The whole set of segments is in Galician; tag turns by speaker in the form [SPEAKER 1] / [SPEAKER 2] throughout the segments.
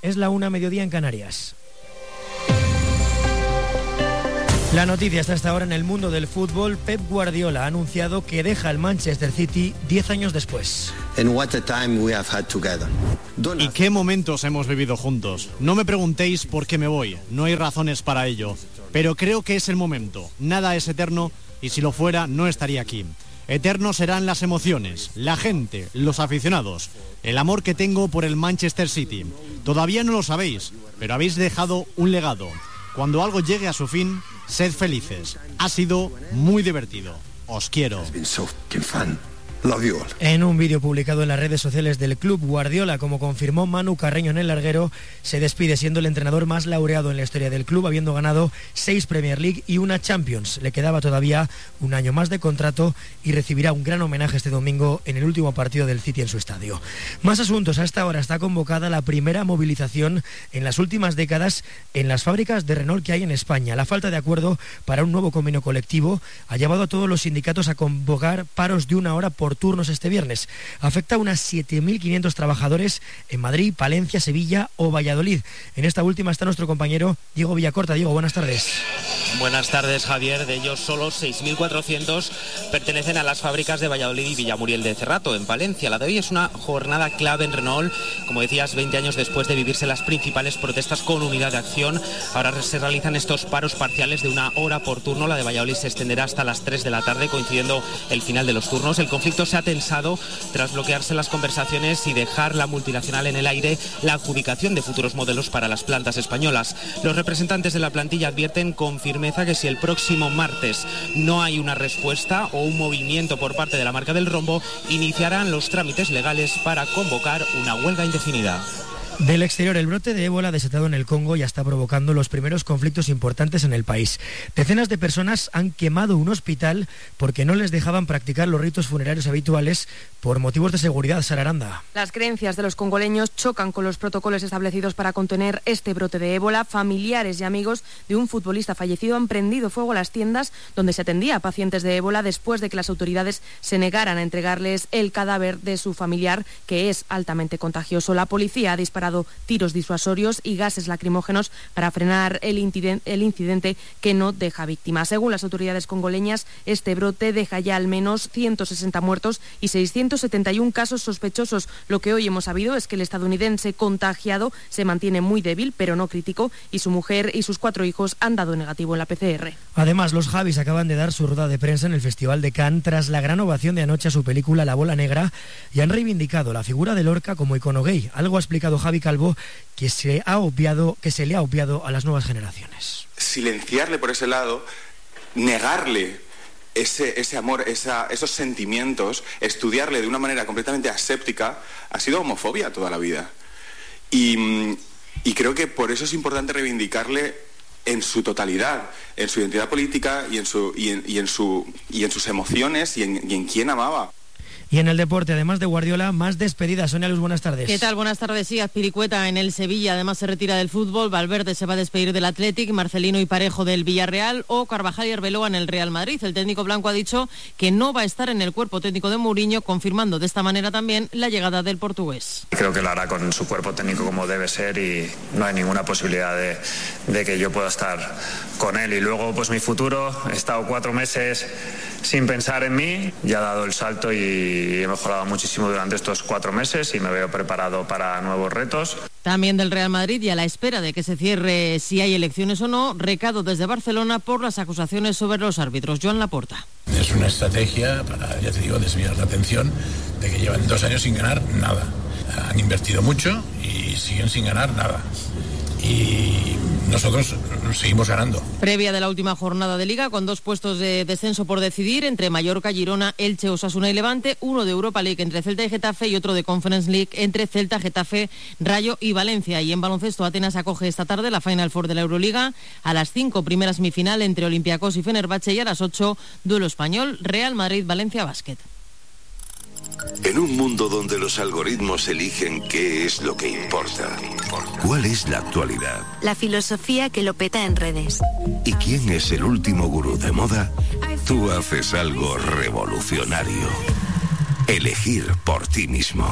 [SPEAKER 1] Es la 1:00 en Canarias. La noticia está hasta ahora en el mundo del fútbol. Pep Guardiola ha anunciado que deja el Manchester City 10 años después.
[SPEAKER 2] ¿Y qué momentos hemos vivido juntos? No me preguntéis por qué me voy, no hay razones para ello. Pero creo que es el momento. Nada es eterno y si lo fuera no estaría aquí. Eternos serán las emociones, la gente, los aficionados, el amor que tengo por el Manchester City. Todavía no lo sabéis, pero habéis dejado un legado. Cuando algo llegue a su fin, sed felices. Ha sido muy divertido. Os quiero.
[SPEAKER 1] En un vídeo publicado en las redes sociales del club, Guardiola, como confirmó Manu Carreño en El Larguero, se despide siendo el entrenador más laureado en la historia del club, habiendo ganado 6 Premier League y una Champions. Le quedaba todavía un año más de contrato y recibirá un gran homenaje este domingo en el último partido del City en su estadio. Más asuntos. A esta hora está convocada la primera movilización en las últimas décadas en las fábricas de Renault que hay en España. La falta de acuerdo para un nuevo convenio colectivo ha llevado a todos los sindicatos a convocar paros de 1 hora por turnos este viernes. Afecta a unas 7.500 trabajadores en Madrid, Palencia, Sevilla o Valladolid. En esta última está nuestro compañero Diego Villacorta. Diego, buenas tardes.
[SPEAKER 3] Buenas tardes, Javier. De ellos solo 6.400 pertenecen a las fábricas de Valladolid y Villamuriel de Cerrato, en Palencia. La de hoy es una jornada clave en Renault. Como decías, 20 años después de vivirse las principales protestas con unidad de acción, ahora se realizan estos paros parciales de 1 hora por turno. La de Valladolid se extenderá hasta las 3 de la tarde, coincidiendo el final de los turnos. El conflicto se ha tensado tras bloquearse las conversaciones y dejar la multinacional en el aire la adjudicación de futuros modelos para las plantas españolas. Los representantes de la plantilla advierten con firmeza que si el próximo martes no hay una respuesta o un movimiento por parte de la marca del rombo, iniciarán los trámites legales para convocar una huelga indefinida.
[SPEAKER 1] Del exterior, el brote de ébola desatado en el Congo ya está provocando los primeros conflictos importantes en el país. Decenas de personas han quemado un hospital porque no les dejaban practicar los ritos funerarios habituales por motivos de seguridad. Sara Aranda.
[SPEAKER 4] Las creencias de los congoleños chocan con los protocolos establecidos para contener este brote de ébola. Familiares y amigos de un futbolista fallecido han prendido fuego a las tiendas donde se atendía a pacientes de ébola después de que las autoridades se negaran a entregarles el cadáver de su familiar, que es altamente contagioso. La policía ha disparado tiros disuasorios y gases lacrimógenos para frenar el incidente que no deja víctimas. Según las autoridades congoleñas, este brote deja ya al menos 160 muertos y 671 casos sospechosos. Lo que hoy hemos sabido es que el estadounidense contagiado se mantiene muy débil, pero no crítico, y su mujer y sus 4 hijos han dado negativo en la PCR.
[SPEAKER 1] Además, los Javis acaban de dar su rueda de prensa en el Festival de Cannes tras la gran ovación de anoche a su película La Bola Negra y han reivindicado la figura de Lorca como icono gay. Algo ha explicado Javi Calvo que se le ha obviado a las nuevas generaciones.
[SPEAKER 5] Silenciarle por ese lado, negarle ese amor, esos sentimientos, estudiarle de una manera completamente aséptica, ha sido homofobia toda la vida. Y creo que por eso es importante reivindicarle en su totalidad, en su identidad política y en sus emociones y en quién amaba.
[SPEAKER 1] Y en el deporte, además de Guardiola, más despedidas. Sonia Luz, buenas tardes.
[SPEAKER 6] ¿Qué tal? Buenas tardes. Sí, Azpilicueta en el Sevilla, además se retira del fútbol. Valverde se va a despedir del Athletic, Marcelino y Parejo del Villarreal o Carvajal y Arbeloa en el Real Madrid. El técnico blanco ha dicho que no va a estar en el cuerpo técnico de Mourinho, confirmando de esta manera también la llegada del portugués.
[SPEAKER 7] Creo que lo hará con su cuerpo técnico como debe ser y no hay ninguna posibilidad de que yo pueda estar con él. Y luego, pues mi futuro, he estado 4 meses sin pensar en mí, ya he dado el salto y he mejorado muchísimo durante estos 4 meses y me veo preparado para nuevos retos.
[SPEAKER 6] También del Real Madrid y a la espera de que se cierre si hay elecciones o no, recado desde Barcelona por las acusaciones sobre los árbitros. Joan Laporta.
[SPEAKER 8] Es una estrategia para, ya te digo, desviar la atención de que llevan 2 años sin ganar nada. Han invertido mucho y siguen sin ganar nada. Y nosotros seguimos ganando.
[SPEAKER 6] Previa de la última jornada de Liga, con 2 puestos de descenso por decidir, entre Mallorca, Girona, Elche, Osasuna y Levante, uno de Europa League entre Celta y Getafe y otro de Conference League entre Celta, Getafe, Rayo y Valencia. Y en baloncesto, Atenas acoge esta tarde la Final Four de la Euroliga. A las 5, primera semifinal entre Olympiacos y Fenerbahce, y a las 8, duelo español, Real Madrid-Valencia Basket.
[SPEAKER 9] En un mundo donde los algoritmos eligen qué es lo que importa, ¿cuál es la actualidad?
[SPEAKER 10] La filosofía que lo peta en redes.
[SPEAKER 9] ¿Y quién es el último gurú de moda? Tú haces algo revolucionario. Elegir por ti mismo.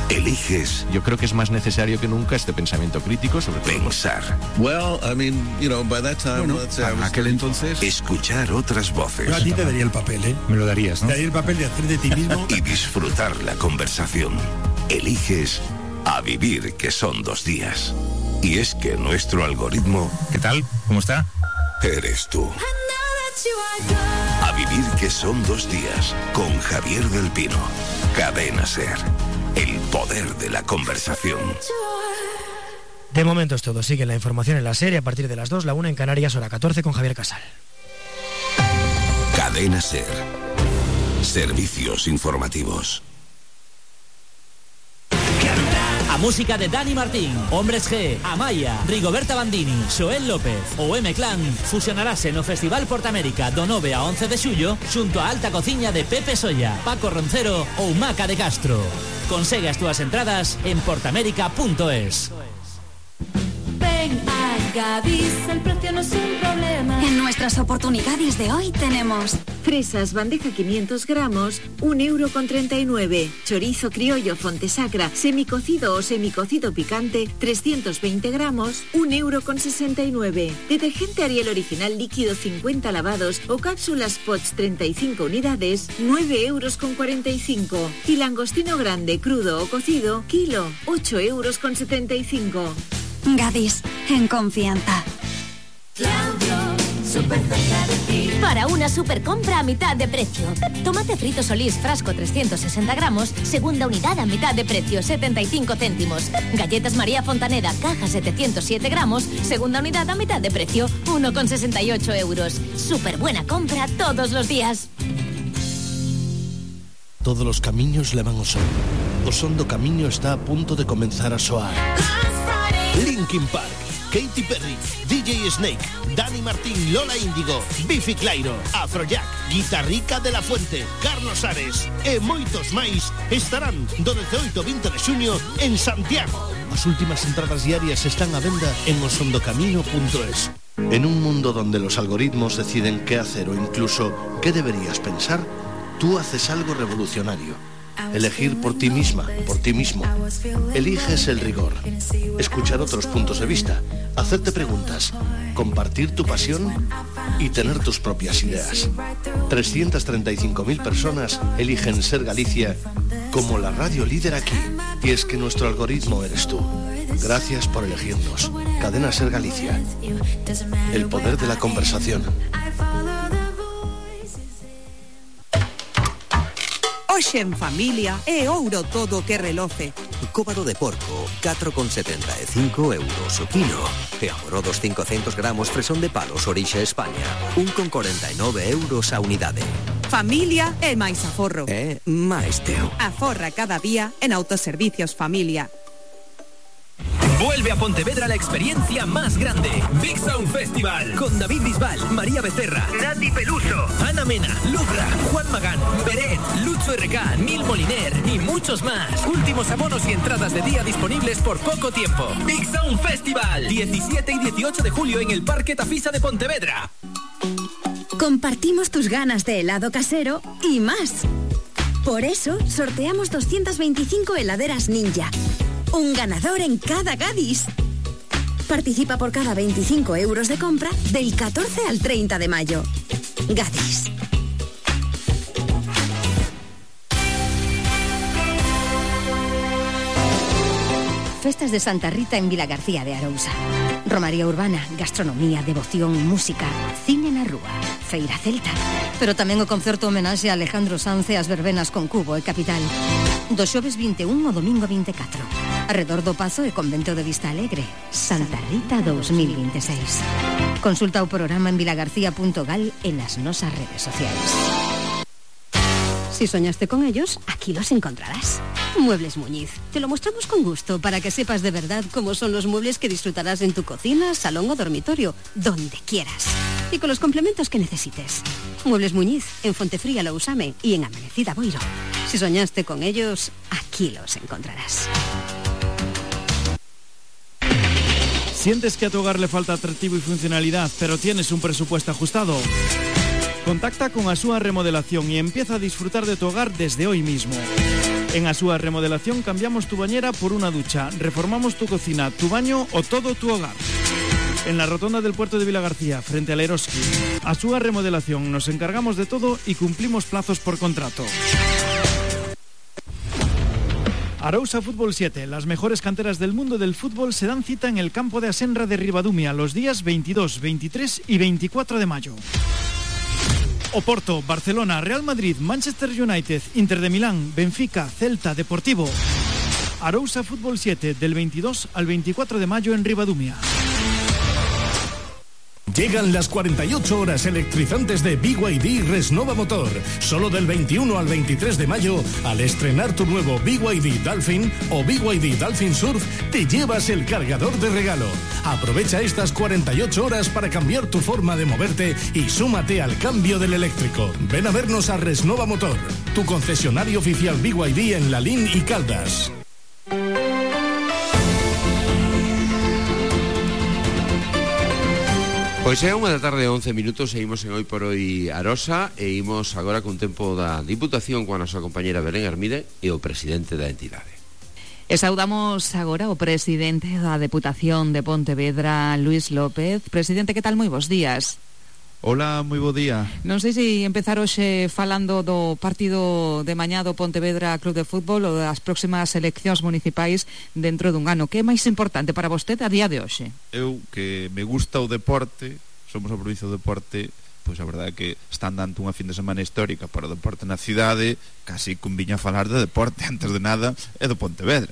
[SPEAKER 9] Eliges...
[SPEAKER 11] Yo creo que es más necesario que nunca este pensamiento crítico sobre todo.
[SPEAKER 9] Pensar.
[SPEAKER 12] Bueno,
[SPEAKER 11] para aquel entonces...
[SPEAKER 9] Escuchar otras voces.
[SPEAKER 13] Yo a ti te daría el papel, ¿eh?
[SPEAKER 11] Me lo darías, ¿no?
[SPEAKER 13] Te daría el papel de hacer de ti mismo.
[SPEAKER 9] Y disfrutar la conversación. Eliges A Vivir, que son 2 días. Y es que nuestro algoritmo...
[SPEAKER 11] ¿Qué tal? ¿Cómo está?
[SPEAKER 9] Eres tú. A Vivir, que son 2 días. Con Javier del Pino. Cadena SER. El poder de la conversación.
[SPEAKER 1] De momento es todo. Sigue la información en la serie a partir de las 2, la 1 en Canarias, hora 14 con Javier Casal.
[SPEAKER 9] Cadena SER. Servicios informativos.
[SPEAKER 14] A música de Dani Martín, Hombres G, Amaya, Rigoberta Bandini, Xoel López ou M-Clan fusionarase no Festival Portamérica do 9 a 11 de xullo xunto a Alta Cociña de Pepe Solla, Paco Roncero ou Maca de Castro. Consegue as túas entradas en portamérica.es.
[SPEAKER 15] Ven a Gadis, el precio no es un problema.
[SPEAKER 10] En nuestras oportunidades de hoy tenemos
[SPEAKER 16] fresas bandeja 500 gramos, 1,39 €. Chorizo criollo Fontesacra, semicocido o semicocido picante, 320 gramos, 1,69 €. Detergente Ariel original líquido 50 lavados o cápsulas Pots 35 unidades, 9,45 €. Y langostino grande, crudo o cocido, kilo, 8,75 €.
[SPEAKER 10] Gadis, en confianza.
[SPEAKER 15] Para una super compra a mitad de precio. Tomate frito Solís frasco 360 gramos, segunda unidad a mitad de precio, 75 céntimos. Galletas María Fontaneda, caja 707 gramos, segunda unidad a mitad de precio, 1,68 €. Super buena compra todos los días.
[SPEAKER 17] Todos los camiños levan ao sol. O son do camiño está a punto de comenzar a soar. Linkin Park, Katy Perry, DJ Snake, Dani Martín, Lola Índigo, Bifi Clyro, Afrojack, Guitarrica de la Fuente, Carlos Ares e moitos máis estarán do 18 ao 20 de xuño en Santiago. As últimas entradas diarias están a venda en osondocamino.es. En un mundo donde los algoritmos deciden qué hacer o incluso qué deberías pensar, tú haces algo revolucionario. Elegir por ti misma, por ti mismo. Eliges el rigor, escuchar otros puntos de vista, hacerte preguntas, compartir tu pasión y tener tus propias ideas. 335.000 personas eligen Ser Galicia como la radio líder aquí. Y es que nuestro algoritmo eres tú. Gracias por elegirnos. Cadena Ser Galicia. El poder de la conversación.
[SPEAKER 18] Hoxe en familia é ouro todo que reloce.
[SPEAKER 19] Cóbado de porco, 4,75 € o kilo. E amorodos 500 gramos fresón de palos orixe España, 1,49 € a unidade.
[SPEAKER 18] Familia é máis aforro.
[SPEAKER 19] É máis teu.
[SPEAKER 18] Aforra cada día en Autoservicios Familia.
[SPEAKER 20] Vuelve a Pontevedra la experiencia más grande. Big Sound Festival. Con David Bisbal, María Becerra, Nati Peluso, Ana Mena, Lucra, Juan Magán, Beret, Lucho RK, Nil Moliner y muchos más. Últimos abonos y entradas de día disponibles por poco tiempo. Big Sound Festival. 17 y 18 de julio en el Parque Tafisa de Pontevedra.
[SPEAKER 10] Compartimos tus ganas de helado casero y más. Por eso sorteamos 225 heladeras Ninja. Un ganador en cada Gadis. Participa por cada 25 € de compra del 14 al 30 de mayo. Gadis.
[SPEAKER 21] Festas de Santa Rita en Vilagarcía de Arousa. Romaría urbana, gastronomía, devoción, música, cine na rúa, feira celta. Pero tamén o concerto homenaxe a Alejandro Sanz e as verbenas con Cubo e Capital. Do xoves 21 ao domingo 24. Arredor do Pazo e Convento de Vista Alegre. Santa Rita 2026. Consulta o programa en vilagarcía.gal e nas nosas redes sociais. Si soñaste con ellos, aquí los encontrarás. Muebles Muñiz. Te lo mostramos con gusto para que sepas de verdad cómo son los muebles que disfrutarás en tu cocina, salón o dormitorio, donde quieras. Y con los complementos que necesites. Muebles Muñiz, en Fontefría Lousame y en Amanecida Boiro. Si soñaste con ellos, aquí los encontrarás.
[SPEAKER 22] ¿Sientes que a tu hogar le falta atractivo y funcionalidad, pero tienes un presupuesto ajustado? Contacta con Asúa Remodelación y empieza a disfrutar de tu hogar desde hoy mismo. En Asúa Remodelación cambiamos tu bañera por una ducha, reformamos tu cocina, tu baño o todo tu hogar. En la rotonda del puerto de Vilagarcía, frente al Eroski. Asúa Remodelación, nos encargamos de todo y cumplimos plazos por contrato. Arousa Fútbol 7, las mejores canteras del mundo del fútbol se dan cita en el campo de Asenra de Ribadumia los días 22, 23 y 24 de mayo. Oporto, Barcelona, Real Madrid, Manchester United, Inter de Milán, Benfica, Celta, Deportivo. Arousa Fútbol 7, del 22 al 24 de mayo en Ribadumia.
[SPEAKER 2] Llegan las 48 horas electrizantes de BYD Resnova Motor. Solo del 21 al 23 de mayo, al estrenar tu nuevo BYD Dolphin o BYD Dolphin Surf, te llevas el cargador de regalo. Aprovecha estas 48 horas para cambiar tu forma de moverte y súmate al cambio del eléctrico. Ven a vernos a Resnova Motor, tu concesionario oficial BYD en Lalín y Caldas.
[SPEAKER 12] Pois é 1:11 seguimos en Hoy por Hoy Arosa e imos agora cun tempo da Diputación coa nosa compañera Belén Hermide e o presidente da entidade.
[SPEAKER 23] E saudamos agora o presidente da Deputación de Pontevedra, Luís López. Presidente, que tal? Moi bons días.
[SPEAKER 24] Hola, moi bo día.
[SPEAKER 23] Non sei se empezar hoxe falando do partido de mañá do Pontevedra Club de Fútbol ou das próximas eleccións municipais dentro dun ano. Que é máis importante para vostede a día de hoxe?
[SPEAKER 24] Eu, que me gusta o deporte, somos a provincia do deporte, pois a verdade é que están dando unha fin de semana histórica para o deporte na cidade, casi conviña falar de deporte, antes de nada, é do Pontevedra.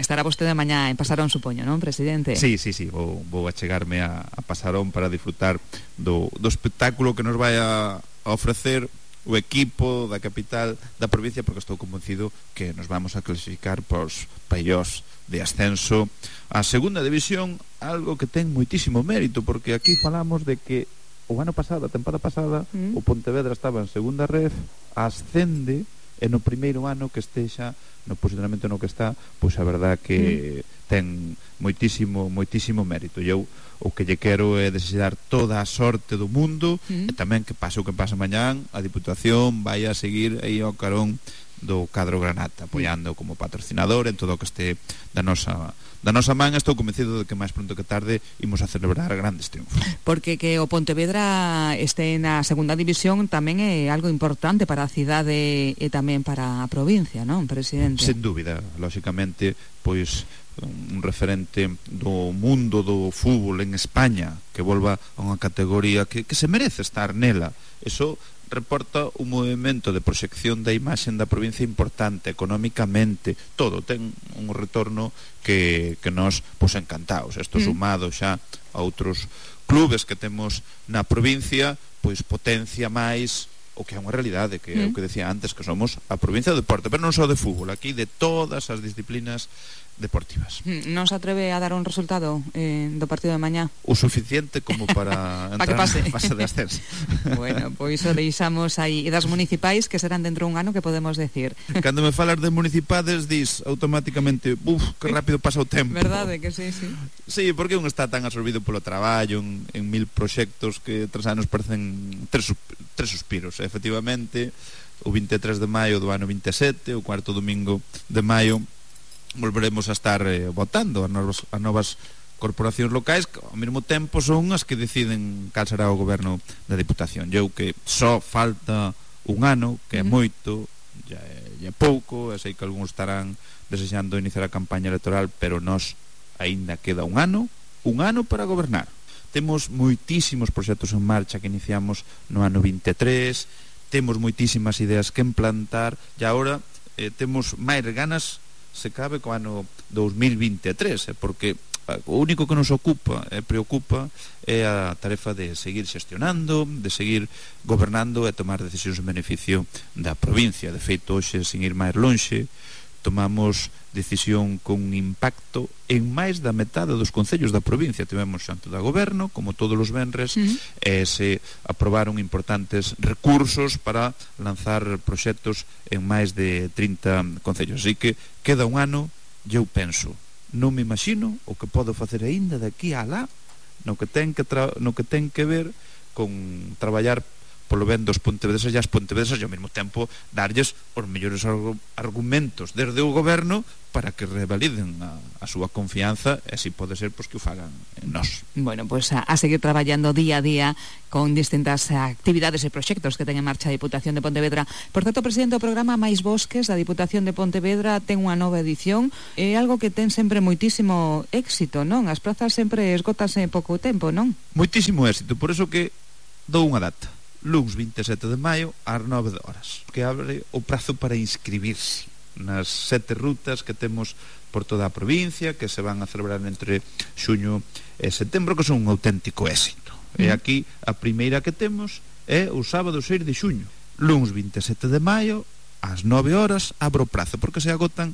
[SPEAKER 23] Estará vostede mañá en Pasarón, supoño, non, presidente?
[SPEAKER 24] Sí, vou achegarme a Pasarón para disfrutar do espectáculo que nos vai a ofrecer o equipo da capital da provincia, porque estou convencido que nos vamos a clasificar pos paillós de ascenso a segunda división, algo que ten moitísimo mérito, porque aquí falamos de que o ano pasado, a temporada pasada, o Pontevedra estaba en segunda ref, ascende, e no primeiro ano que estexa no posicionamento no que está, pois a verdad que ten moitísimo mérito. E eu o que lle quero é desear toda a sorte do mundo, e tamén que pase o que pase mañán, a Diputación vai a seguir aí ao carón do cadro Granata, apoiando como patrocinador en todo o que este da nosa man. Estou convencido de que máis pronto que tarde imos a celebrar grandes triunfos.
[SPEAKER 23] Porque que o Pontevedra este na segunda división tamén é algo importante para a cidade e tamén para a provincia, non, presidente?
[SPEAKER 24] Sen dúbida, lóxicamente, pois un referente do mundo do fútbol en España que volva a unha categoría que se merece estar nela. Eso reporta un movimento de proxección da imaxen da provincia importante, económicamente, todo ten un retorno que nos pois encantados. Isto sumado xa a outros clubes que temos na provincia, pois potencia máis o que é unha realidade, que é o que decía antes, que somos a provincia do deporte, pero non só de fútbol, aquí de todas as disciplinas deportivas.
[SPEAKER 23] Non se atreve a dar un resultado do partido de mañá?
[SPEAKER 24] O suficiente como para entrar na fase de ascenso.
[SPEAKER 23] Bueno, pois o deixamos aí. E das municipais, que serán dentro dun ano, que podemos decir?
[SPEAKER 24] Cando me falas de municipades, dis automáticamente, que rápido pasa o tempo.
[SPEAKER 23] Verdade que sí.
[SPEAKER 24] Sí, porque un está tan absorbido polo traballo en mil proxectos que 3 anos parecen tres suspiros. Efectivamente, o 23 de maio do ano 27, o cuarto domingo de maio, volveremos a estar votando as novas corporacións locais, que ao mesmo tempo son as que deciden cal será o goberno da Diputación. Eu que só falta un ano, que é moito, já é pouco, e sei que algúns estarán desexando iniciar a campaña electoral, pero nós aínda queda un ano para gobernar. Temos moitísimos proxectos en marcha que iniciamos no ano 23, temos moitísimas ideas que implantar, e agora temos máis ganas, se cabe, co ano 2023, porque o único que nos ocupa e preocupa é a tarefa de seguir xestionando, de seguir gobernando e tomar decisións en beneficio da provincia. De feito, hoxe, sin ir máis lonxe, tomamos decisión con impacto en máis da metade dos concellos da provincia. Tivemos xanto da goberno, como todos os venres, e se aprobaron importantes recursos para lanzar proxectos en máis de 30 concellos. Así que queda un ano, e eu penso, non me imagino o que podo facer aínda de aquí a lá, no que ten que ver con traballar polo ben dos pontevedresas e as pontevedresas, e ao mesmo tempo darlles os mellores argumentos desde o goberno para que revaliden a súa confianza, e así pode ser pois que o fagan en nós.
[SPEAKER 23] Bueno, pues a seguir traballando día a día con distintas actividades e proxectos que ten en marcha a Diputación de Pontevedra. Por certo, presidente, o programa Máis Bosques da Diputación de Pontevedra ten unha nova edición, é algo que ten sempre moitísimo éxito, non? As prazas sempre esgotanse en pouco tempo, non?
[SPEAKER 24] Moitísimo éxito, por eso que dou unha data, luns 27 de maio ás 9 horas, que abre o prazo para inscribirse nas 7 rutas que temos por toda a provincia, que se van a celebrar entre xuño e setembro, que son un auténtico éxito. E aquí a primeira que temos é o sábado 6 de xuño, luns 27 de maio ás 9 horas abre o prazo, porque se agotan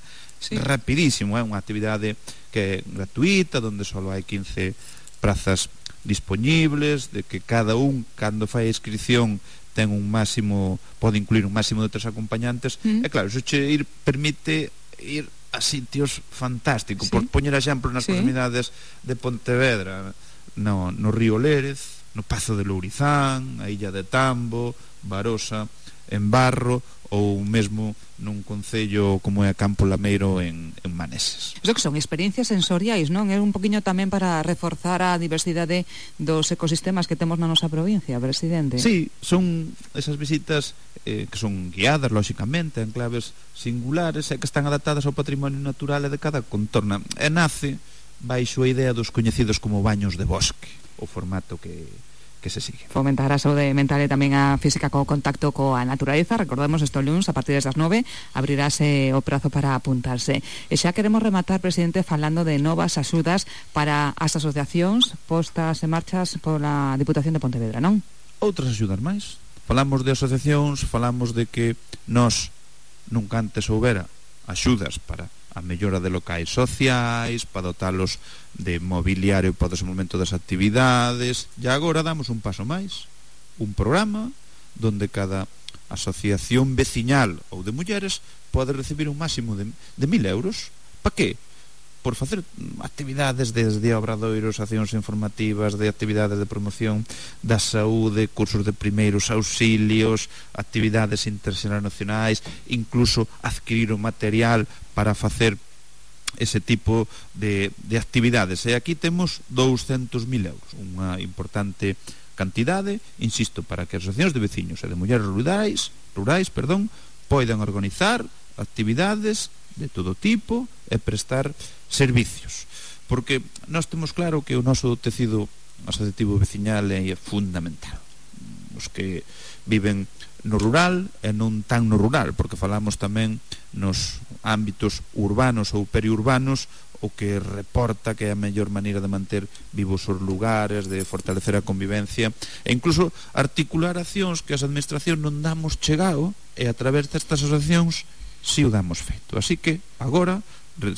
[SPEAKER 24] rapidísimo. É unha actividade que é gratuita, onde só hai 15 prazas disponibles, de que cada un, cando fai a inscripción, ten un máximo, pode incluir un máximo de 3 acompañantes. E claro, iso che permite ir a sitios fantásticos. Por poñer exemplo nas proximidades de Pontevedra, no río Lérez, no Pazo de Lourizán, a Illa de Tambo, Barosa, en Barro, ou mesmo nun concello como é Campo Lameiro en Maneses.
[SPEAKER 23] Iso que son experiencias sensoriais, non? É un poquinho tamén para reforzar a diversidade dos ecosistemas que temos na nosa provincia, presidente.
[SPEAKER 24] Sí, son esas visitas que son guiadas, lóxicamente, en claves singulares e que están adaptadas ao patrimonio natural e de cada contorna. E nace baixo a idea dos coñecidos como baños de bosque, o formato que se sigue.
[SPEAKER 23] Fomentar a saúde mental e tamén a física co contacto coa naturaleza. Recordemos este luns, a partir das 9, abrirase o prazo para apuntarse. E xa queremos rematar, presidente, falando de novas axudas para as asociacións postas en marchas pola Diputación de Pontevedra, non?
[SPEAKER 24] Outras axudas máis. Falamos de asociacións, falamos de que nós nunca antes houbera axudas para a mellora de locais sociais, para dotalos de mobiliario para o desenvolvemento das actividades, e agora damos un paso máis, un programa donde cada asociación veciñal ou de mulleres pode recibir un máximo de 1.000 euros. Para que? Por facer actividades desde obradoiros, accións informativas, de actividades de promoción da saúde, cursos de primeiros auxilios, actividades internacionais, incluso adquirir o material para facer ese tipo de actividades. E aquí temos 200.000 euros, unha importante cantidade, insisto, para que as asociacións de veciños e de mulleres rurais, poidan organizar actividades de todo tipo e prestar servicios, porque nós temos claro que o noso tecido asociativo veciñal é fundamental. Os que viven no rural e non tan no rural, porque falamos tamén nos ámbitos urbanos ou periurbanos, o que reporta que é a mellor maneira de manter vivos os lugares, de fortalecer a convivencia e incluso articular accións que as administracións non damos chegado, e a través destas asociacións si o damos feito. Así que agora,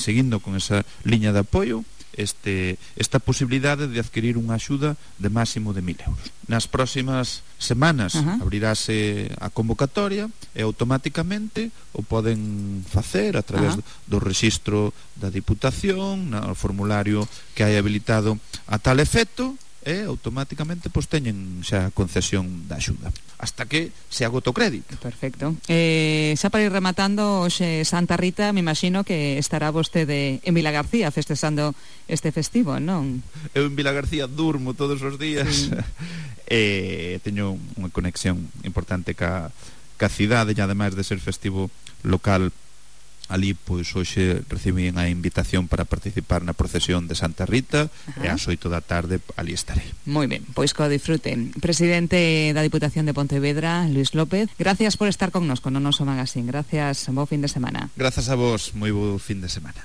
[SPEAKER 24] seguindo con esa liña de apoio, esta posibilidade de adquirir unha axuda de máximo de 1.000 euros. Nas próximas semanas abrirase a convocatoria e automáticamente o poden facer a través do rexistro da Diputación, no formulario que hai habilitado a tal efecto, e automáticamente teñen xa a concesión da axuda hasta que se agota o crédito.
[SPEAKER 23] Perfecto. Xa para ir rematando, hoxe Santa Rita, me imagino que estará vostede en Vilagarcía festexando este festivo, non?
[SPEAKER 24] Eu en Vilagarcía durmo todos os días, teño unha conexión importante ca cidade, e ademais de ser festivo local ali, pois hoxe recibín a invitación para participar na procesión de Santa Rita, e ás 8 da tarde ali estaré.
[SPEAKER 23] Moi ben, pois que o disfruten. Presidente da Diputación de Pontevedra, Luis López, gracias por estar connosco no noso magazín. Gracias, bo fin de semana.
[SPEAKER 24] Grazas a vos, moi bo fin de semana.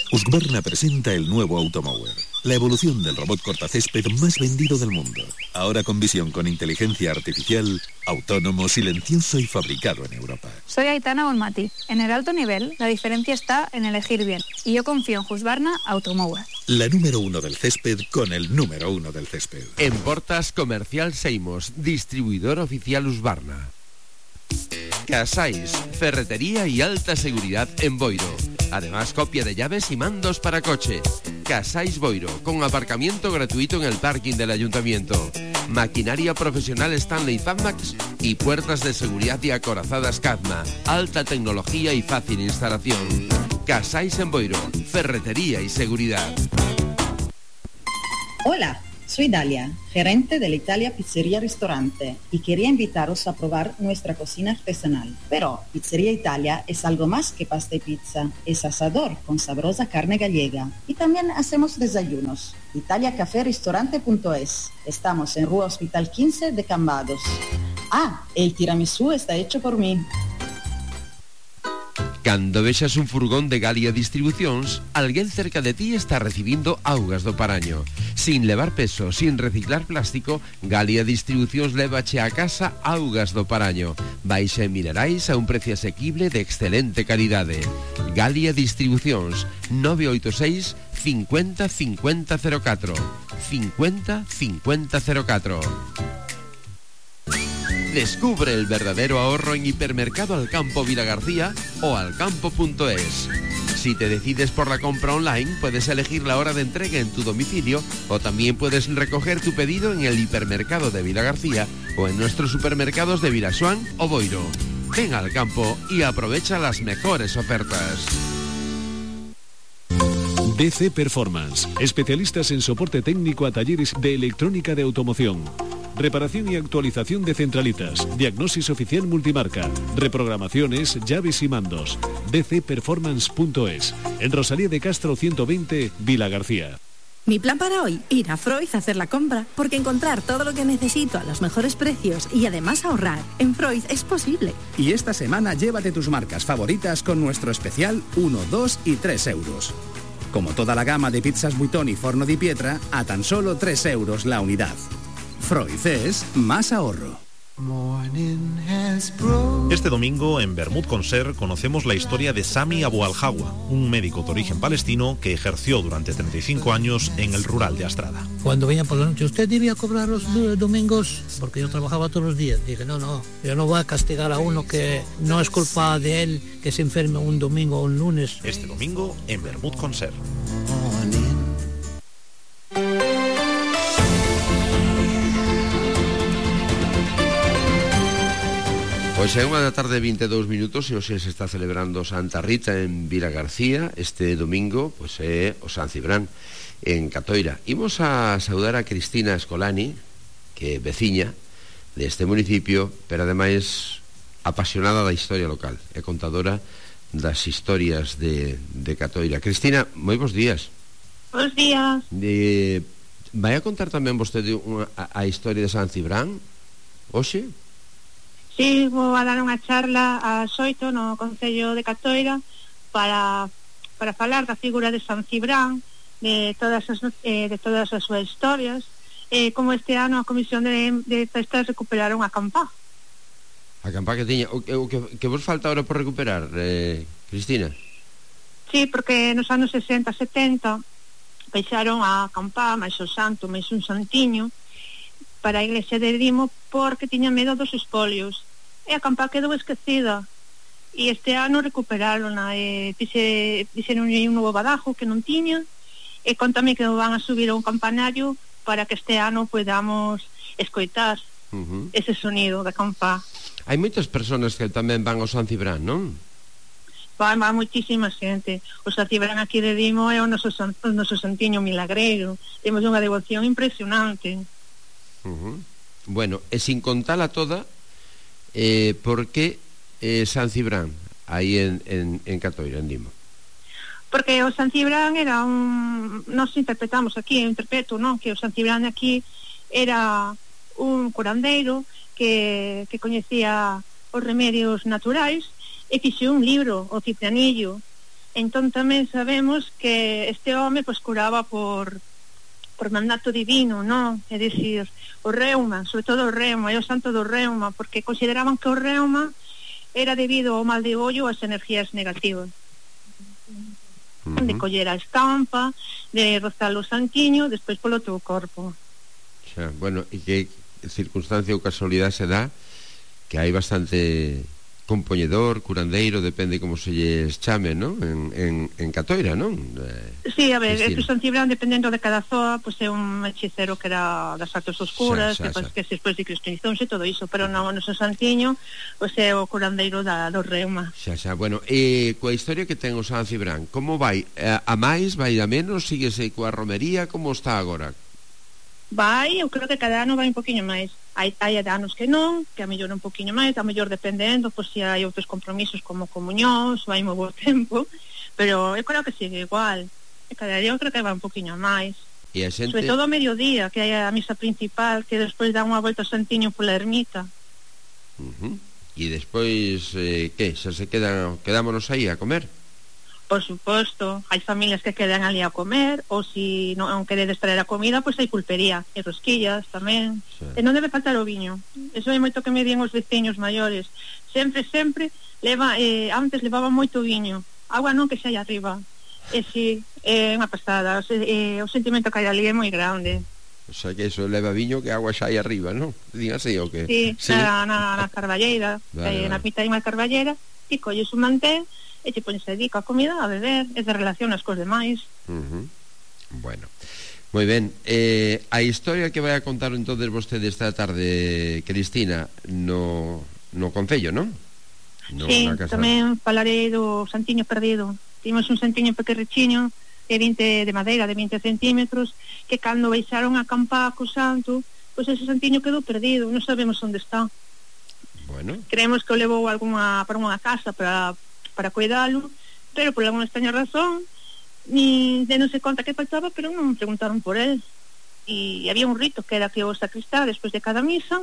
[SPEAKER 9] Husqvarna presenta el nuevo Automower, la evolución del robot cortacésped más vendido del mundo. Ahora con visión con inteligencia artificial, autónomo, silencioso y fabricado en Europa.
[SPEAKER 3] Soy Aitana Bonmati. En el alto nivel, la diferencia está en elegir bien. Y yo confío en Husqvarna Automower.
[SPEAKER 9] La número 1 del césped con el número 1 del césped.
[SPEAKER 12] En Portas Comercial Seimos, distribuidor oficial Husqvarna. Casais, ferretería y alta seguridad en Boiro. Además, copia de llaves y mandos para coche. Casais Boiro, con aparcamiento gratuito en el parking del ayuntamiento. Maquinaria profesional Stanley Fatmax y puertas de seguridad y acorazadas Cadma. Alta tecnología y fácil instalación. Casais en Boiro, ferretería y seguridad.
[SPEAKER 4] Hola, soy Dalia, gerente de la Italia Pizzería Restaurante, y quería invitaros a probar nuestra cocina artesanal. Pero Pizzería Italia es algo más que pasta y pizza, es asador con sabrosa carne gallega. Y también hacemos desayunos. italiacaférestaurante.es. Estamos en Rua Hospital 15 de Cambados. El tiramisú está hecho por mí.
[SPEAKER 12] Cando vexas un furgón de Galia Distribucións, alguén cerca de ti está recibindo augas do Paraño. Sin levar peso, sin reciclar plástico, Galia Distribucións lévache a casa augas do Paraño. Baixa en minerais a un precio asequible de excelente calidade. Galia Distribucións, 986 50 50 04. 50 50 04. Descubre el verdadero ahorro en Hipermercado Alcampo Vilagarcía o alcampo.es. Si te decides por la compra online, puedes elegir la hora de entrega en tu domicilio o también puedes recoger tu pedido en el Hipermercado de Vilagarcía o en nuestros supermercados de Vilaxuán o Boiro. Ven al campo y aprovecha las mejores ofertas.
[SPEAKER 5] DC Performance, especialistas en soporte técnico a talleres de electrónica de automoción. Reparación y actualización de centralitas, diagnosis oficial multimarca, reprogramaciones, llaves y mandos. dcperformance.es, en Rosalía de Castro 120, Vila García.
[SPEAKER 7] Mi plan para hoy, ir a Freud a hacer la compra, porque encontrar todo lo que necesito a los mejores precios y además ahorrar en Freud es posible.
[SPEAKER 8] Y esta semana llévate tus marcas favoritas con nuestro especial 1, 2 y 3 euros. Como toda la gama de pizzas Buitoni Forno di Pietra, a tan solo 3 euros la unidad. Freud es más ahorro.
[SPEAKER 25] Este domingo en Bermud Concert conocemos la historia de Sami Abu Al-Hawa, un médico de origen palestino que ejerció durante 35 años en el rural de Astrada.
[SPEAKER 26] Cuando venía por la noche, usted debía cobrar los domingos, porque yo trabajaba todos los días. Dije, no, yo no voy a castigar a uno que no es culpa de él que se enferme un domingo o un lunes.
[SPEAKER 25] Este domingo en Bermud Concert.
[SPEAKER 12] Pois é unha da tarde 22 minutos e hoxe se está celebrando Santa Rita en Vila García. Este domingo pois é o San Cibrán en Catoira. Imos a saudar a Cristina Escolani, que é veciña deste municipio, pero ademais apasionada da historia local e contadora das historias de Catoira. Cristina, moi bons días.
[SPEAKER 27] Bons días.
[SPEAKER 12] Vai a contar tamén vostede a historia de San Cibrán hoxe?
[SPEAKER 27] Sí, vou a dar unha charla ás 8 no Concello de Catoira para falar da figura de San Cibrán, de todas as súas historias, como este ano a Comisión de Festas recuperaron a campá.
[SPEAKER 12] A campá que tiña. O que vos falta ahora por recuperar, Cristina?
[SPEAKER 27] Sí, porque nos anos 60, 70 peixaron a campá, máis o santo, máis un santiño para a iglesia de Dimo porque tiña medo dos espolios e a campá quedou esquecida e este ano recuperaron fixeron un novo badajo que non tiña e contame que van a subir a un campanario para que este ano podamos escoitar ese sonido da campá.
[SPEAKER 12] Hai moitas persoas que tamén van ao San Cibrán, non?
[SPEAKER 27] Van moitísima xente. O San Cibrán aquí de Dimo é o noso santiño milagreiro, temos unha devoción impresionante.
[SPEAKER 12] Bueno, e sin contala toda, por que San Cibrán aí en Catoira, en Dimo?
[SPEAKER 27] Porque o San Cibrán era nos interpretamos aquí, eu interpreto, non? Que o San Cibrán aquí era un curandeiro que coñecía os remedios naturais e fixe un libro, o Ciprianillo. Entón tamén sabemos que este home pois curaba por mandato divino, non? É dicir, o reuma, sobre todo o reuma, é o santo do reuma, porque consideraban que o reuma era debido ao mal de ollo ás energías negativas. De coller a estampa, de rozar o santiño, despois polo teu corpo.
[SPEAKER 12] Bueno, e que circunstancia ou casualidade se dá que hai bastante compoñedor, curandeiro, depende como se lles chame, non? En Catoira, non?
[SPEAKER 27] Sí, a ver, o San Cibrán, dependendo de cada zoa, pois é un hechicero que era das artes oscuras, que despois de cristianizacións e todo iso, pero non, o noso santiño, pois é o curandeiro do reuma.
[SPEAKER 12] Bueno, coa historia que ten o San Cibrán, como vai? A máis, vai a menos? Síguese coa romería? Como está agora?
[SPEAKER 27] Vai, eu creo que cada ano vai un poquinho máis. Hai anos que non, que a mellor un poquinho máis, a mellor dependendo, pois se hai outros compromisos como comuñóns, vai moi bo tempo, pero eu creo que sigue igual. E cada día eu creo que vai un poquinho máis.
[SPEAKER 12] E a xente...
[SPEAKER 27] Sobre todo a mediodía, que hai a misa principal, que despois dá unha volta ao Santiño pola ermita.
[SPEAKER 12] E despois, que? Xa se quedámonos aí a comer?
[SPEAKER 27] Por suposto, hai familias que quedan ali a comer, ou se non queredes traer a comida, pois hai pulpería e rosquillas tamén. E non debe faltar o viño. Eso é moito que me dían os veciños maiores. Sempre antes levaban moito viño. Agua non, que xa hai arriba. E si, é unha pasada. O sentimento que hai ali é moi grande.
[SPEAKER 12] O sea que eso leva viño que agua xa hai arriba, non? Dígase o que?
[SPEAKER 27] Sí, na carballeira, na pita hai unha carballera, e colles un mantén e te pones aí coa comida a beber, e te relacionas cos demais.
[SPEAKER 12] Bueno, moi ben. A historia que vai a contar entonces vostede esta tarde, Cristina, no Concello, non?
[SPEAKER 27] Sí, tamén falarei do Santiño perdido. Timos un Santiño pequerrichiño de madeira de 20 centímetros, que cando baixaron a acampar co santo, pois ese Santiño quedou perdido, non sabemos onde está.
[SPEAKER 12] Bueno,
[SPEAKER 27] creemos que o levou para unha casa para cuidalo, pero por alguna extraña razón non se conta que faltaba, pero non preguntaron por él. E había un rito que era que o sacristán, despois de cada misa,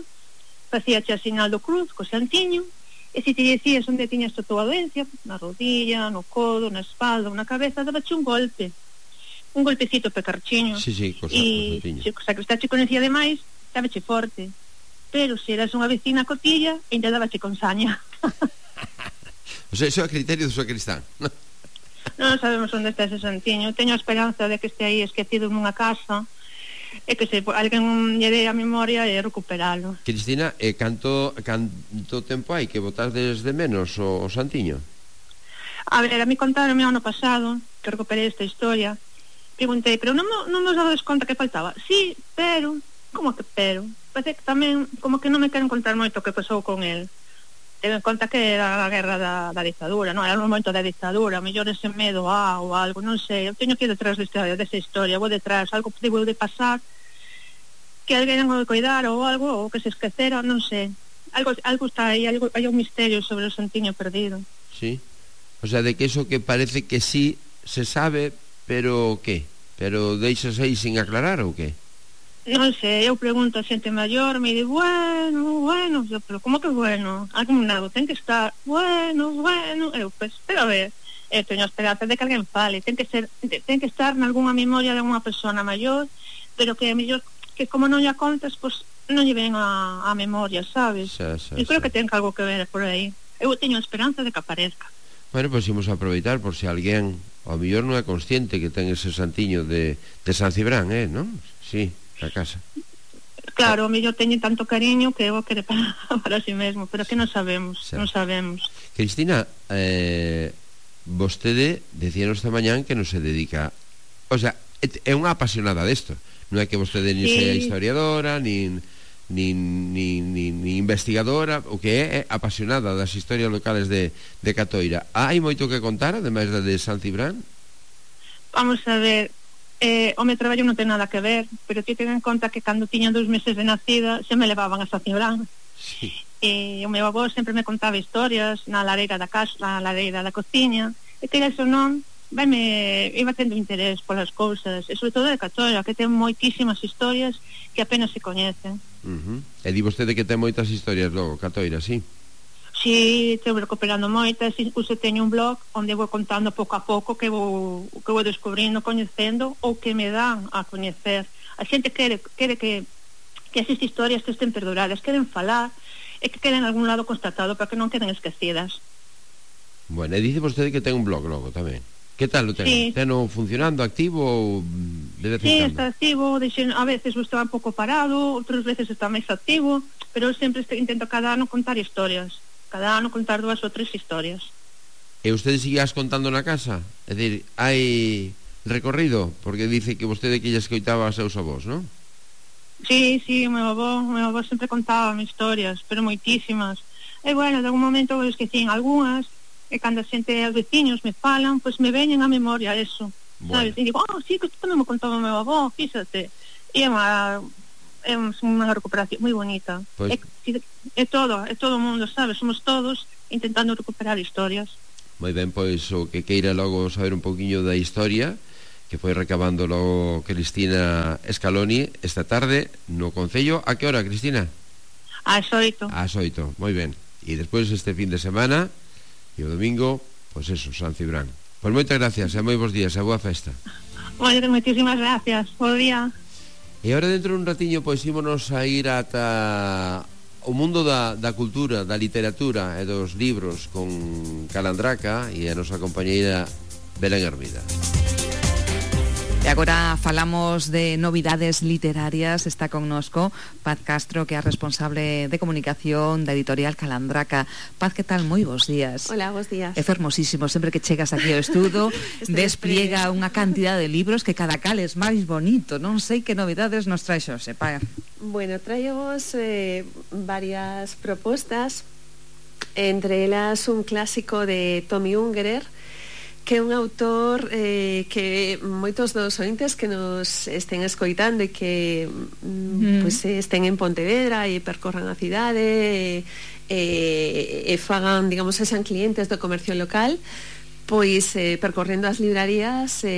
[SPEAKER 27] facía a sinal do cruz co santiño, e se te dicías onde tiñas toda a doencia, na rodilla, no codo, na espalda, na cabeza, dabache un golpecito pecarchiño. E se o sacristán che conocía demais, dabache forte, pero se eras unha vecina cotilla, ainda dabache con saña.
[SPEAKER 12] O sea, iso é a criterio do sacristán.
[SPEAKER 27] Non sabemos onde está ese santiño. Teño a esperanza de que este aí esquecido nunha casa, e que se alguén lle dé a memoria e recuperalo.
[SPEAKER 12] Cristina, canto tempo hai que botades de menos o santiño?
[SPEAKER 27] A ver, a mí contaron o ano pasado que recuperei esta historia. Preguntei, pero non nos dades conta que faltaba? Sí, pero... Como que pero? Parece que tamén como que non me queren contar moito o que pasou con el. Ten en conta que era a guerra da dictadura, non? Era un momento da dictadura, mellor ese medo ou algo, non sei. Eu teño que ir detrás desa historia, vou detrás, algo que debo de pasar, que alguén o de cuidar ou algo, ou que se esquecera, non sei. Algo está aí, hai un misterio sobre o santiño perdido.
[SPEAKER 12] Sí, o sea, de que eso que parece que sí se sabe, pero que? Pero deixas aí sin aclarar ou que?
[SPEAKER 27] Non sei, eu pregunto a xente maior, me di, bueno, pero como que bueno? Algún lado ten que estar, bueno, eu, pues, pero a ver, teño a esperanza de que alguén fale, ten que estar nalgúna memoria de unha persona maior, pero que mellor, que como non lla contas, pues, non lle ven a memoria, sabes? Eu creo que ten algo que ver por aí. Eu teño a esperanza de que aparezca.
[SPEAKER 12] Bueno, pues imos a aproveitar por se alguén, ao mellor non é consciente que ten ese santiño de San Cibrán, non? Sí, a casa.
[SPEAKER 27] Claro, o mellor teñen tanto cariño que o quere para si mesmo, pero que non sabemos.
[SPEAKER 12] Cristina, vostede decíanos esta mañán que non se dedica, o sea, é unha apasionada desto, non é que vostede nin sea historiadora, nin investigadora, o que é apasionada das historias locales de Catoira. Hai moito que contar, ademais da de San Cibrán?
[SPEAKER 27] Vamos a ver, o meu traballo non ten nada que ver, pero ti ten en conta que cando tiña 2 meses de nacida se me levaban a San Cibrán.
[SPEAKER 12] Sí.
[SPEAKER 27] O meu avó sempre me contaba historias na lareira da casa, na lareira da cociña, e que eso non iba tendo interés polas cousas, e sobre todo de Catoira, que ten moitísimas historias que apenas se coñecen.
[SPEAKER 12] E di vostede que ten moitas historias logo, Catoira, sí?
[SPEAKER 27] Si, estou recuperando moitas, incluso teño un blog onde vou contando pouco a pouco que vou descubrindo, coñecendo ou que me dan a coñecer. A xente quere que esas historias que estén perduradas, queren falar e que queden en algún lado constatado para que non queden esquecidas.
[SPEAKER 12] Bueno, e dice vostede que ten un blog logo tamén. Que tal o ten? Sí. Teno funcionando, activo ou de vez en cando?
[SPEAKER 27] Sí, está activo, a veces está un pouco parado, outras veces está máis activo, pero eu sempre intento cada ano contar historias. cada ano contar 2 ou 3 historias.
[SPEAKER 12] E usted seguías contando na casa? É dicir, hai recorrido? Porque dice que vostede que lle escoitaba aos seus avós, non?
[SPEAKER 27] Sí, o meu avó sempre contaba historias, pero moitísimas. E bueno, de algún momento eu esquecín algunhas, e cando a xente, os veciños me falan, pois me veñen a memoria eso, sabes? E digo, sí, que isto tamén me contaba o meu avó, fíxate. E é unha recuperación moi bonita. Pues... É todo o mundo, sabes? Somos todos intentando recuperar historias.
[SPEAKER 12] Moi ben, pois o que queira logo saber un poquinho da historia que foi recabando logo Cristina Scaloni esta tarde no Concello. A que hora, Cristina?
[SPEAKER 27] Ás 8.
[SPEAKER 12] Ás 8, moi ben. E despois este fin de semana e o domingo, pois eso, San Cibrán. Pois moitas gracias e moi bons días e boa festa.
[SPEAKER 27] Moitísimas gracias, bo día.
[SPEAKER 12] E agora dentro dun ratiño pois ímonos a ir ata o mundo da cultura, da literatura e dos libros con Calandraca e a nosa compañeira Belén Hermida.
[SPEAKER 23] E agora falamos de novidades literarias. Está connosco Paz Castro, que é a responsable de comunicación da editorial Calandraca. Paz, que tal? Moi bons días.
[SPEAKER 1] Hola, bons días.
[SPEAKER 23] É fermosísimo, sempre que chegas aquí ao estudo despliega unha cantidad de libros que cada cal é máis bonito. Non sei que novidades nos trae Xose, Paz.
[SPEAKER 1] Bueno, traemos varias propostas, entre elas un clásico de Tommy Ungerer, que é un autor que moitos dos ointes que nos estén escoitando e que pues, estén en Pontevedra e percorran a cidade e fagan, digamos, sean clientes do comercio local, pois percorrendo as librarías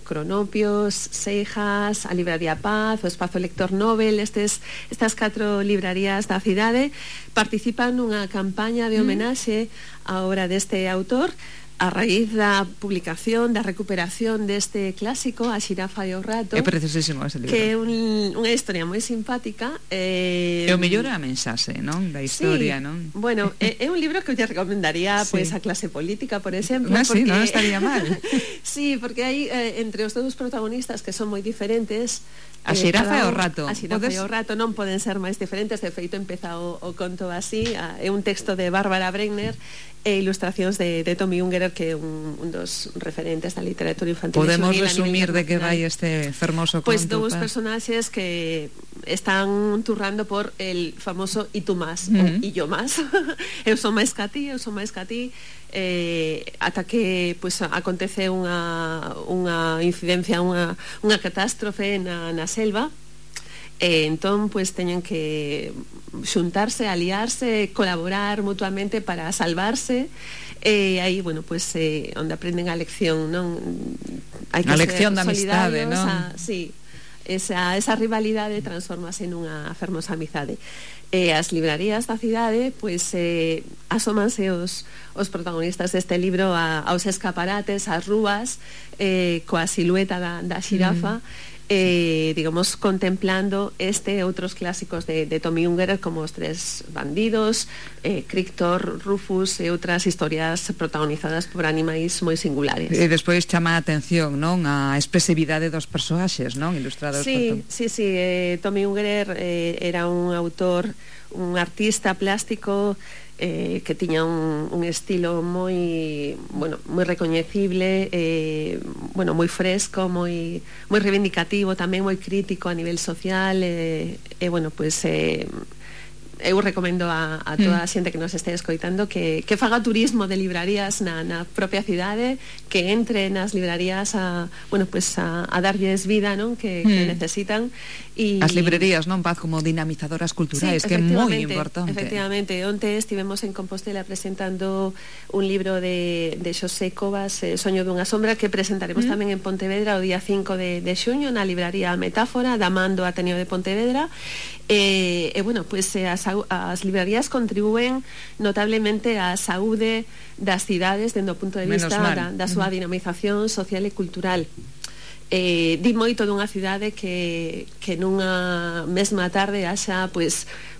[SPEAKER 1] Cronopios, Seijas, a Libraría Paz, o Espazo Lector Nobel, estas 4 librarías da cidade participan nunha campaña de homenaxe á obra deste autor a raíz da publicación, da recuperación deste clásico, A xirafa e o rato.
[SPEAKER 23] É preciosísimo ese libro.
[SPEAKER 1] Que é unha historia moi simpática.
[SPEAKER 23] E o mellor é a mensaxe, non? Da historia,
[SPEAKER 1] sí,
[SPEAKER 23] non?
[SPEAKER 1] Bueno, é un libro que eu lle recomendaría pues, a clase política, por exemplo.
[SPEAKER 23] Sí, non estaría mal.
[SPEAKER 1] Sí, porque hai entre os dous protagonistas que son moi diferentes.
[SPEAKER 23] A xirafa e o rato.
[SPEAKER 1] A xirafa e o rato non poden ser máis diferentes. De feito, empeza o conto así. É un texto de Bárbara Bregner e ilustracións de Tommy Ungerer, que é un dos referentes da literatura infantil.
[SPEAKER 23] Podemos resumir de que vai este fermoso conto?
[SPEAKER 1] Pois dous personaxes que están turrando por el famoso "y tú más", ou "y yo más". Eu son máis ca ti, ata que pues, acontece unha incidencia, unha catástrofe na selva. Entón, pues, teñen que xuntarse, aliarse, colaborar mutuamente para salvarse. Aí, bueno, pues, onde aprenden a lección, non? Hai que
[SPEAKER 23] a lección da
[SPEAKER 1] amistade,
[SPEAKER 23] non?
[SPEAKER 1] Sí, esa rivalidade transformase nunha fermosa amizade. As librarías da cidade, pues, asómanse os protagonistas deste libro aos escaparates, ás rúas, coa silueta da xirafa, digamos, contemplando este e outros clásicos de Tommy Ungerer, como Os tres bandidos, Crictor, Rufus e outras historias protagonizadas por animais moi singulares.
[SPEAKER 23] E despois chama a atención, non? A expresividade dos personaxes, non? Ilustrados
[SPEAKER 1] por Tommy Ungerer era un autor, un artista plástico que tiña un estilo moi recoñecible, moi fresco, moi reivindicativo, tamén moi crítico a nivel social, eu recomendo a toda a xente que nos este escoitando que faga turismo de librarías na propia cidade, que entre nas librarías a darlles vida, non? Que necesitan.
[SPEAKER 23] As librerías, non, Paz, como dinamizadoras culturais, que é moi importante.
[SPEAKER 1] Efectivamente, onte estivemos en Compostela presentando un libro de Xosé Covas, Soño dunha sombra, que presentaremos tamén en Pontevedra o día 5 de xuño na libraría Metáfora, da man do Ateneo de Pontevedra. As librarías contribúen notablemente á saúde das cidades dende o punto de vista da súa dinamización social e cultural. Di moito dunha cidade que nunha mesma tarde haxa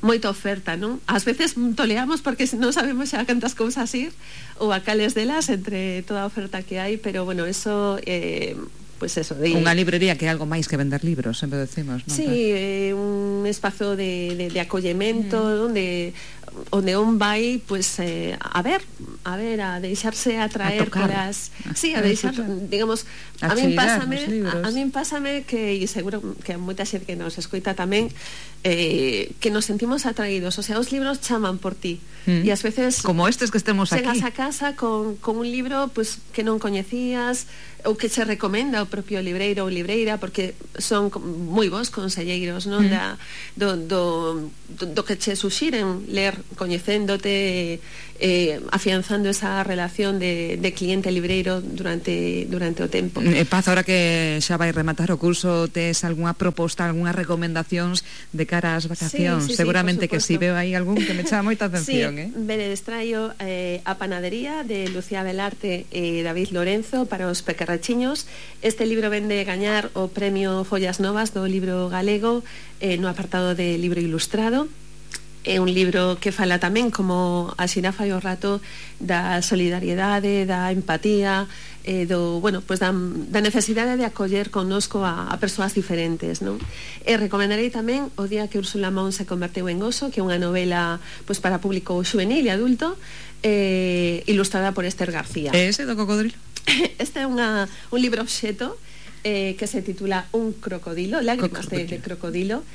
[SPEAKER 1] moita oferta, non? Ás veces toleamos porque non sabemos xa cantas cousas ir ou a cales delas entre toda a oferta que hai, pero bueno, eso
[SPEAKER 23] unha librería que é algo máis que vender libros, sempre decimos, non?
[SPEAKER 1] Sí, un espazo de acollemento onde onde un vai pues, a deixarse atraer polas... Sí, a deixar, digamos, a min pásame que, e seguro que a moita xente que nos escoita tamén, que nos sentimos atraídos, o sea, os libros chaman por ti, e ás veces
[SPEAKER 23] como estes que estemos aquí,
[SPEAKER 1] chegas a casa con un libro pues, que non coñecías, ou que se recomenda o propio libreiro ou libreira, porque son moi bons conselleiros, non? Do que che suxiren ler, coñecéndote, afianzando esa relación de cliente libreiro durante o tempo.
[SPEAKER 23] Paz, ahora que xa vai rematar o curso, tes algunha proposta, algunhas recomendacións de cara ás vacacións? Seguramente que si veo aí algún que me chama moita atención.
[SPEAKER 1] Veredes, traio A Panadería de Lucía Velarte e David Lorenzo para os pequerrachiños. Este libro vende gañar o premio Follas Novas do libro galego no apartado de libro ilustrado. É un libro que fala tamén, como a xirafa e o rato, da solidariedade, da empatía, da necesidade de acoller connosco a persoas diferentes, non? E recomendarei tamén O día que Úrsula Mon se converteu en oso, que é unha novela para público xuvenil e adulto, ilustrada por Esther García.
[SPEAKER 23] E ese do cocodrilo?
[SPEAKER 1] Este é un libro obxeto que se titula Un crocodilo, lágrimas de crocodilo.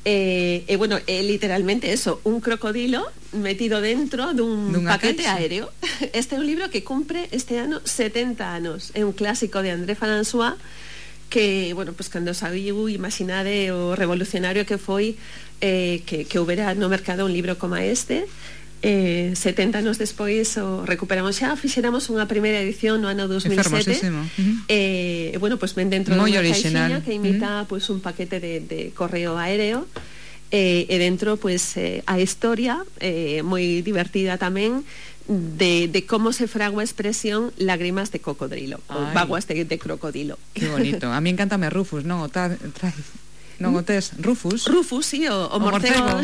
[SPEAKER 1] Literalmente eso, un crocodilo metido dentro dun paquete aéreo. Este é un libro que cumpre este ano 70 anos. É un clásico de André François que, pues cando sabiu, imaginade o revolucionario que foi que houbera no mercado un libro como este. 70 anos despois o recuperamos xa, fixéramos unha primeira edición no ano 2007 pues ven dentro de unha caixinha que imita un paquete de correo aéreo e dentro a historia moi divertida tamén de como se fragua a expresión lágrimas de cocodrilo, vaguas de crocodilo.
[SPEAKER 23] Que bonito, a mí encántame Rufus, non? Non o tes, Rufus,
[SPEAKER 1] sí, o morcego.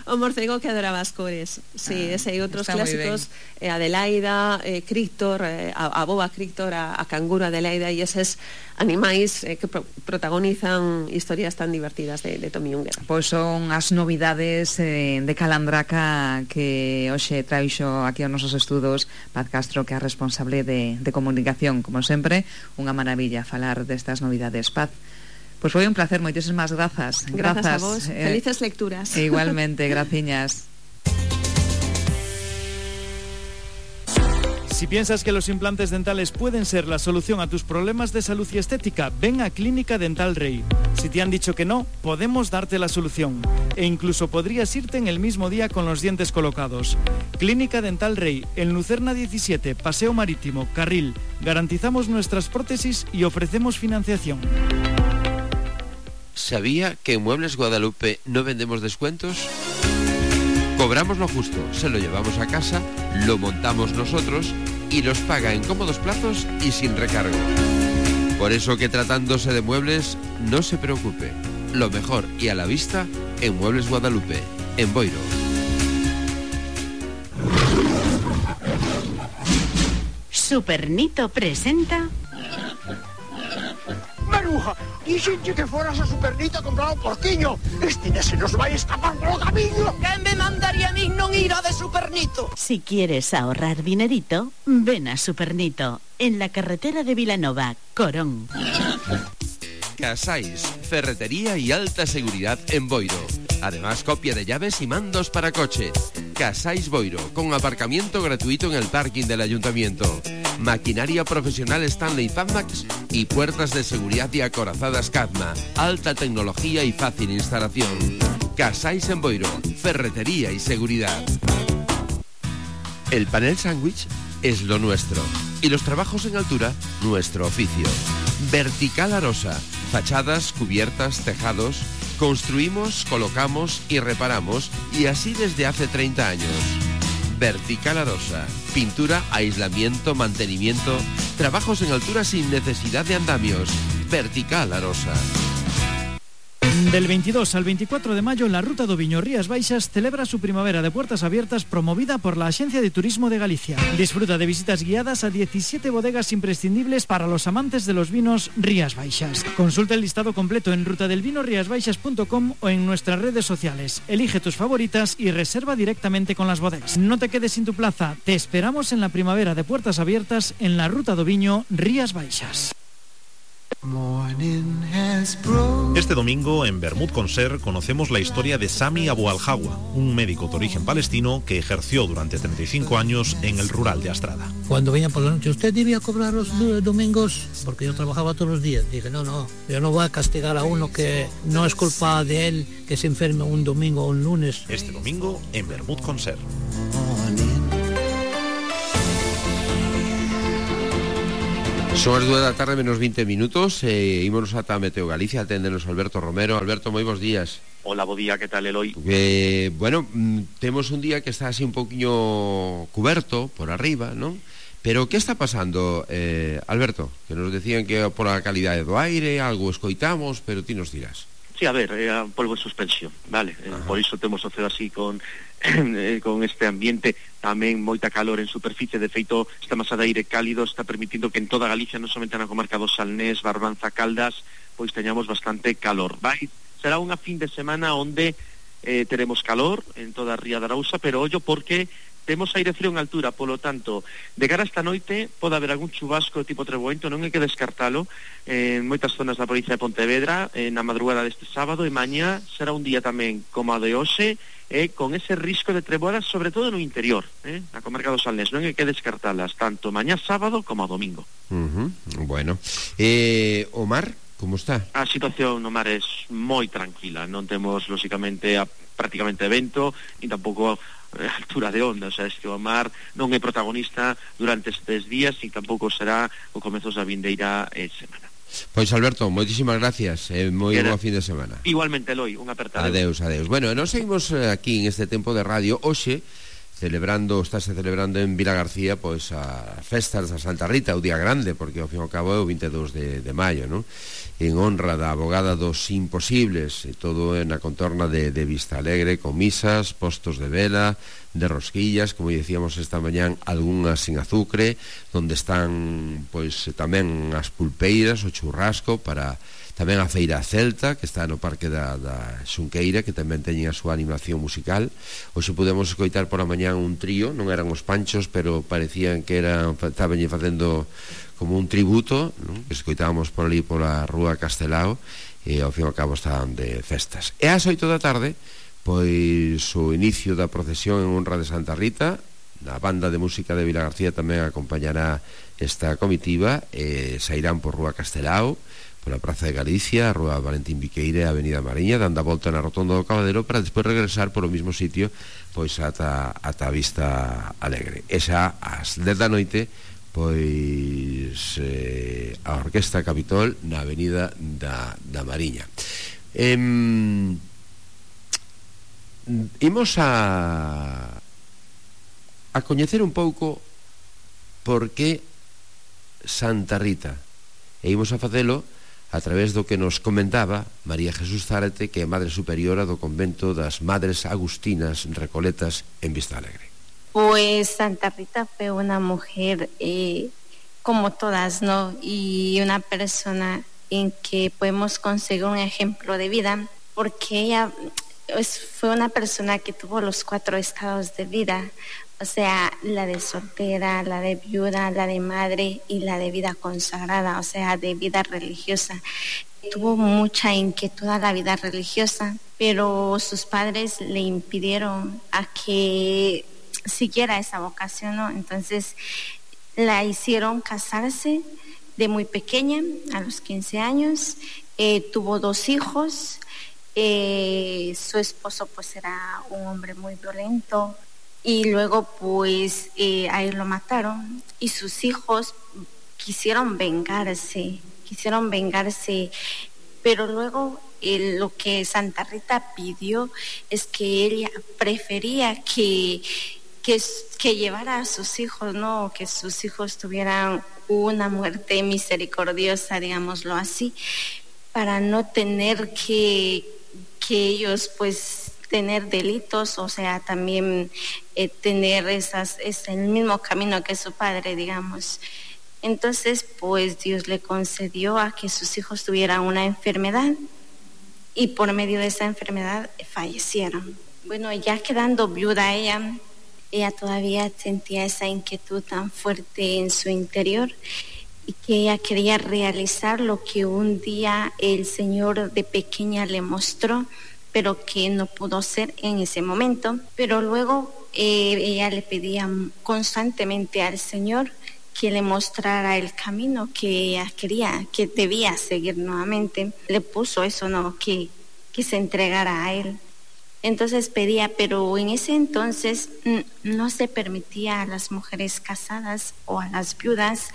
[SPEAKER 1] O morcego que adoraba as cores. Sí, ese e outros clásicos, Adelaida, Críctor, a boa Críctor, a canguro Adelaida, e eses animais que protagonizan historias tan divertidas de Tommy Unger.
[SPEAKER 23] Pois son as novidades de Calandraca que hoxe traixo aquí aos nosos estudos Paz Castro, que é responsable de comunicación. Como sempre, unha maravilla falar destas novidades. Paz, pois foi un placer, moitísimas grazas.
[SPEAKER 1] Grazas a vos, felices lecturas.
[SPEAKER 23] Igualmente, graciñas.
[SPEAKER 22] Si piensas que los implantes dentales pueden ser la solución a tus problemas de salud y estética, ven a Clínica Dental Rey. Si te han dicho que no, podemos darte la solución. E incluso podrías irte en el mismo día con los dientes colocados. Clínica Dental Rey, en Lucerna 17, Paseo Marítimo, Carril. Garantizamos nuestras prótesis y ofrecemos financiación.
[SPEAKER 12] ¿Sabía que en Muebles Guadalupe no vendemos descuentos? Cobramos lo justo, se lo llevamos a casa, lo montamos nosotros y los paga en cómodos plazos y sin recargo. Por eso que tratándose de muebles, no se preocupe. Lo mejor y a la vista en Muebles Guadalupe, en Boiro.
[SPEAKER 6] Supernito presenta...
[SPEAKER 11] Maruja, dixenche que foras a Supernito a comprar un porquiño. Este se nos vai escapar polo camiño.
[SPEAKER 6] Que me mandaría a min non ir a de Supernito? Si quieres ahorrar dinerito, ven a Supernito, en la carretera de Vilanova, Corón.
[SPEAKER 12] Casais, ferretería y alta seguridad en Boiro. Además, copia de llaves y mandos para coche. Casais Boiro, con aparcamiento gratuito en el parking del ayuntamiento. Maquinaria profesional Stanley Fadmax y puertas de seguridad y acorazadas Cadma. Alta tecnología y fácil instalación. Casais en Boiro, ferretería y seguridad. El panel sándwich es lo nuestro. Y los trabajos en altura, nuestro oficio. Vertical Arosa. Fachadas, cubiertas, tejados. Construimos, colocamos y reparamos, y así desde hace 30 años. Vertical Arosa. Pintura, aislamiento, mantenimiento. Trabajos en altura sin necesidad de andamios. Vertical Arosa.
[SPEAKER 22] Del 22 al 24 de mayo, la Ruta do Viño Rías Baixas celebra su primavera de puertas abiertas promovida por la Agencia de Turismo de Galicia. Disfruta de visitas guiadas a 17 bodegas imprescindibles para los amantes de los vinos Rías Baixas. Consulta el listado completo en rutadelvinoriasbaixas.com o en nuestras redes sociales. Elige tus favoritas y reserva directamente con las bodegas. No te quedes sin tu plaza. Te esperamos en la primavera de puertas abiertas en la Ruta do Viño Rías Baixas.
[SPEAKER 25] Este domingo, en Bermud Conser, conocemos la historia de Sami Abu Al-Hawa, un médico de origen palestino que ejerció durante 35 años en el rural de Astrada.
[SPEAKER 26] Cuando venían por la noche, usted debía cobrar los domingos, porque yo trabajaba todos los días. Dije, no, yo no voy a castigar a uno que no es culpa de él que se enferme un domingo o un lunes.
[SPEAKER 25] Este domingo, en Bermud Conser.
[SPEAKER 12] Son as 2 da tarde menos 20 minutos ímonos ata Meteo Galicia, aténdenos Alberto Romero. Alberto, moi bons días.
[SPEAKER 13] Hola, bo día, que tal, Eloi?
[SPEAKER 12] Bueno, temos un día que está así un poquinho cuberto por arriba, non? Pero que está pasando, Alberto? Que nos decían que por a calidade do aire algo escoitamos, pero ti nos dirás.
[SPEAKER 13] Sí, a ver, polvo en suspensión, vale? Por iso temos o ceo así con este ambiente, tamén moita calor en superficie. De feito, esta masa de aire cálido está permitindo que en toda Galicia, non somente na comarca do Salnés, Barbanza, Caldas, pois teñamos bastante calor. Será unha fin de semana onde teremos calor en toda a Ría de Arousa, pero ollo porque temos aire frío en altura, polo tanto, de cara a esta noite pode haber algún chubasco tipo treboento, non hai que descartalo en moitas zonas da provincia de Pontevedra na madrugada deste sábado, e mañá será un día tamén como a de hoxe, con ese risco de treboadas, sobre todo no interior, na comarca do Salnés. Non hai que descartalas tanto mañá sábado como a domingo.
[SPEAKER 12] Bueno, o mar, como está?
[SPEAKER 13] A situación no mar é moi tranquila, non temos lóxicamente prácticamente vento, e tampouco altura de onda, o sea, es que o mar non é protagonista durante estes días e tampouco será o comezos da vindeira semana.
[SPEAKER 12] Pois Alberto, moitísimas gracias, moi bo fin de semana.
[SPEAKER 13] Igualmente, Eloi, un aperta.
[SPEAKER 12] Adeus. Bueno, nos seguimos aquí en este tempo de radio hoxe estáse celebrando en Vilagarcía pois as festas da Santa Rita, o día grande, porque ao fin e ao cabo é o 22 de maio, non? En honra da abogada dos imposibles, e todo na contorna de Vista Alegre, con misas, postos de vela, de rosquillas, como decíamos esta mañán, algunhas sin azucre, donde están pois tamén as pulpeiras, o churrasco, para tamén a Feira Celta, que está no Parque da Xunqueira, que tamén teñen a súa animación musical. Hoxe podemos escoitar por a mañán un trío, non eran os Panchos, pero parecían que estaban facendo como un tributo, non? Que escoitábamos por ali pola Rúa Castelao, e ao fin e ao cabo estaban de festas. E ás 8 da tarde, pois o inicio da procesión en honra de Santa Rita. A banda de música de Vilagarcía tamén acompañará esta comitiva, e sairán por Rúa Castelao, pola Praza de Galicia, a Rúa Valentín Viqueira e a Avenida Mariña, dando a volta na rotonda do Cabadero, para despois regresar polo mismo sitio pois ata a Vista Alegre. E xa ás 10 da noite pois a Orquesta Capitol na Avenida da Mariña. Imos a coñecer un pouco por que Santa Rita, e imos a facelo a través do que nos comentaba María Jesús Zárate, que é Madre Superiora do convento das Madres Agustinas Recoletas en Vista Alegre.
[SPEAKER 14] Pues Santa Rita fue una mujer como todas, ¿no? Y una persona en que podemos conseguir un ejemplo de vida, porque ella fue una persona que tuvo los 4 estados de vida, o sea, la de soltera, la de viuda, la de madre y la de vida consagrada, o sea, de vida religiosa. Tuvo mucha inquietud a la vida religiosa, pero sus padres le impidieron a que siguiera esa vocación, ¿no? Entonces la hicieron casarse de muy pequeña, a los 15 años, tuvo 2 hijos, su esposo pues era un hombre muy violento, y luego pues a él lo mataron, y sus hijos quisieron vengarse, pero luego lo que Santa Rita pidió es que ella prefería que llevara a sus hijos, ¿no? Que sus hijos tuvieran una muerte misericordiosa, digámoslo así, para no tener que ellos pues tener delitos, o sea, también tener el mismo camino que su padre, digamos. Entonces, pues Dios le concedió a que sus hijos tuvieran una enfermedad y por medio de esa enfermedad fallecieron. Bueno, ya quedando viuda ella todavía sentía esa inquietud tan fuerte en su interior y que ella quería realizar lo que un día el Señor de pequeña le mostró, pero que no pudo hacer en ese momento. Pero luego ella le pedía constantemente al Señor que le mostrara el camino que ella quería, que debía seguir nuevamente. Le puso eso, ¿no? Que se entregara a Él. Entonces pedía, pero en ese entonces no se permitía a las mujeres casadas o a las viudas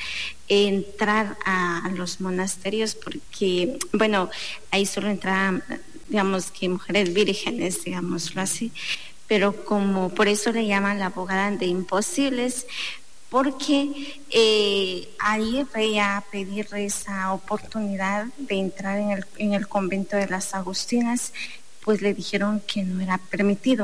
[SPEAKER 14] entrar a los monasterios porque, bueno, ahí solo entraban, digamos que mujeres vírgenes, digámoslo así, pero como por eso le llaman la abogada de imposibles, porque ahí veía a pedir esa oportunidad de entrar en el convento de las Agustinas, pues le dijeron que no era permitido.